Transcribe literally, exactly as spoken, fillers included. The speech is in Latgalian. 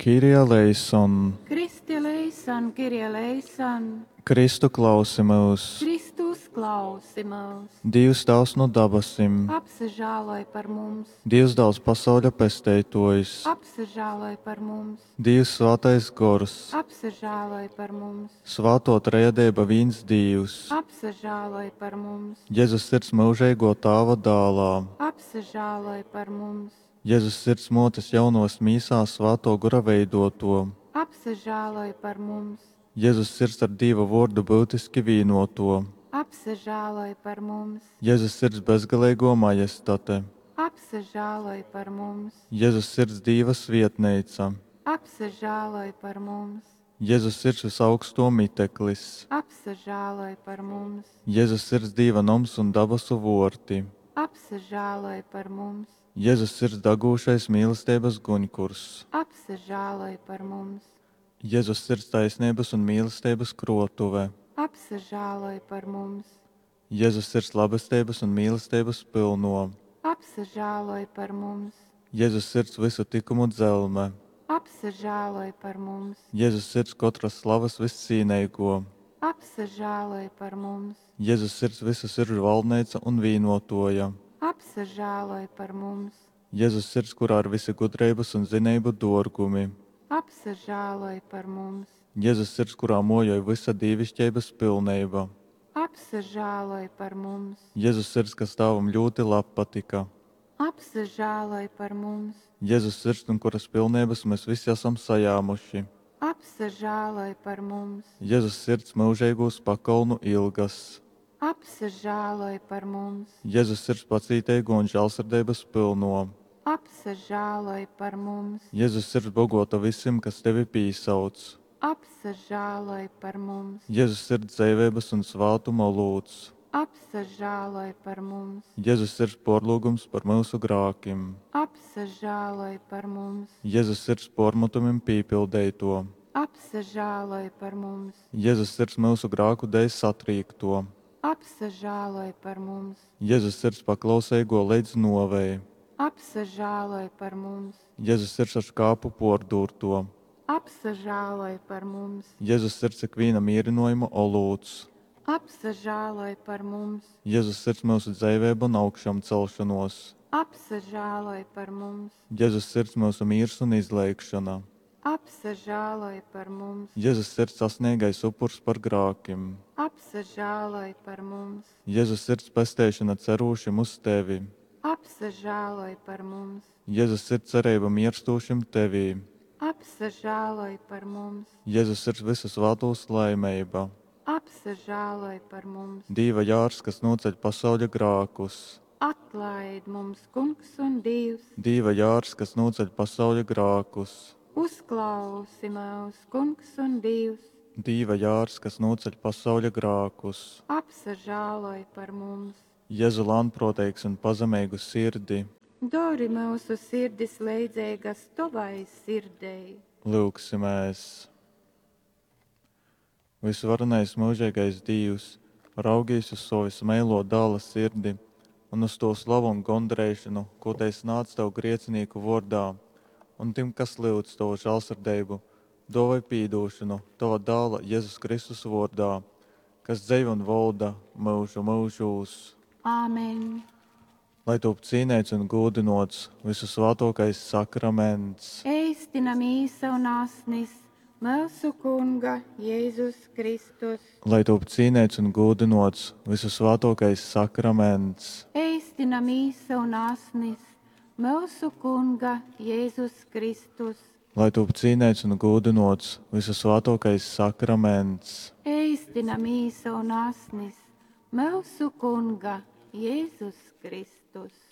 Kyrie eleison! Kristi eleison, Kyrie eleison! Kristu klausi myus! Kristu uzklausi myus! Dīvs Tāvs nu dabasim! Apsažāloj par mums! Dīvs Dāls pasauļa Pesteitōjs! Apsažāloj par mums! Dīvs Svātais Gors! Apsažāloj par mums! Svātō Trejadeiba vīns Dīvs! Apsažāloj par mums! Jezus Sirds myužeigō Tāva Dālā! Apsažāloj par mums! Jezus Sirds Mōtes Jaunovas mīsā Svātō Gora veidōtō! Apsažāloj par mums! Jezus Sirds ar Dīva Vōrdu byutiski vīnōtō! Apsažāloj par mums! Jezus Sirds bezgaleigō Majestate! Apsažāloj par mums! Jezus Sirds Dīva svietneica! Apsažāloj par mums! Jezus Sirds vysaugstō miteklis! Apsažāloj par mums! Jezus Sirds Dīva noms un dabasu vōrti! Apsažāloj par mums! Jezus Sirds dagūšais mīlesteibas guņkurs! Apsažāloj par mums! Jezus Sirds taisneibas un mīlesteibas krōtuve! Apsažāloj par mums! Jezus Sirds labesteibas un mīlesteibas pylnō! Apsažāloj par mums! Jezus Sirds vysu tykumu dzelme! Apsažāloj par mums! Jezus Sirds kotras slavas vyscīneigō! Apsažāloj par mums! Jezus Sirds vysu siržu valdneica un vīnōtōja! Apsažāloj par mums! Jezus Sirds, kurā ir vysi gudreibas un zineibu dōrgumi! Apsažāloj par mums! Jezus Sirds, kurā mōjoj vysa dīviškeibas pilneiba! Apsažāloj par mums! Jezus Sirds, kas Tāvam ļūti labpatyka! Apsažāloj par mums! Jezus Sirds, nu kuras pilneibas mes vysi asam sajāmuši! Apsažāloj par mums! Jezus Sirds, myužeigūs pakolnu ilgas! Apsažāloj par mums! Jezus Sirds pacīteigō un žālsirdeibas pylnō! Apsažāloj par mums! Jezus Sirds, bogōta vysim, kas tevi pīsauc! Apsažāloj par mums! Jezus Sirds, dzeiveibas un svātuma olūts! Apsažāloj par mums! Jezus Sirds pōrlyugums par myusu grākim! Apsažāloj par mums! Jezus Sirds pōrmatumim pīpildeitō! Apsažāloj par mums! Jezus Sirds myusu grāku dēļ satrīktō! Apsažāloj par mums! Jezus Sirds paklauseigō leidz nōvei! Apsažāloj par mums! Jezus Sirds ar škāpu pōrdūrtō! Apsažāloj par mums! Jezus Sirds ikvīna mīrynōjuma olūts! Apsažāloj par mums! Jezus Sirds myusu dzeiveiba un augšamcelšonōs! Apsažāloj par mums! Jezus Sirds myusu mīrs un izleigšona! Apsažāloj par mums! Jezus Sirds asneigais upurs par grākim! Apsažāloj par mums! Jezus Sirds pesteišona cerūšim uz tevi! Apsažāloj par mums! Jezus Sirds cereiba mierstūšim tevī! Apsažāloj par mums! Jezus Sirds vysu svātūs laimeiba! Apsažāloj par mums! Dīva jārs, kas nūceļ pasauļa grākus! Atlaid mums, Kungs un Dīvs! Dīva jārs, kas nūceļ pasauļa grākus! Uzklausi myus, Kungs un Dīvs! Dīva jārs, kas nūceļ pasauļa grākus! Apsažāloj par mums! Jezu lānprōteigs un pazemeigu sirdi! Dori myusu sirdis leidzeigas tovai sirdei! Lyugsimēs! Vysvarenais myužeigais Dīvs, raugīs uz sova vysmeilō Dāla sirdi un uz tō slavu un gondareišonu, kū tei snādz tev griecinīku vōrdā, un tim, kas lyudz tovu žālsirdeibu, dōvoj pīdūšonu tova Dāla Jezus Kristus vōrdā, kas dzeiv un volda myužu myužūs. Āmen! Lai tūp cīneits un gūdynōts vysusvātōkais sakraments. Eistina mīsa un asnis myusu Kunga Jezus Kristus. Lai tūp cīneits un gūdynōts vysusvātōkais sakraments. Eistina mīsa un asnis myusu Kunga Jezus Kristus. Lai tūp cīneits un gūdynōts vysusvātōkais sakraments. Eistina mīsa un asnis myusu Kunga Jezus Kristus.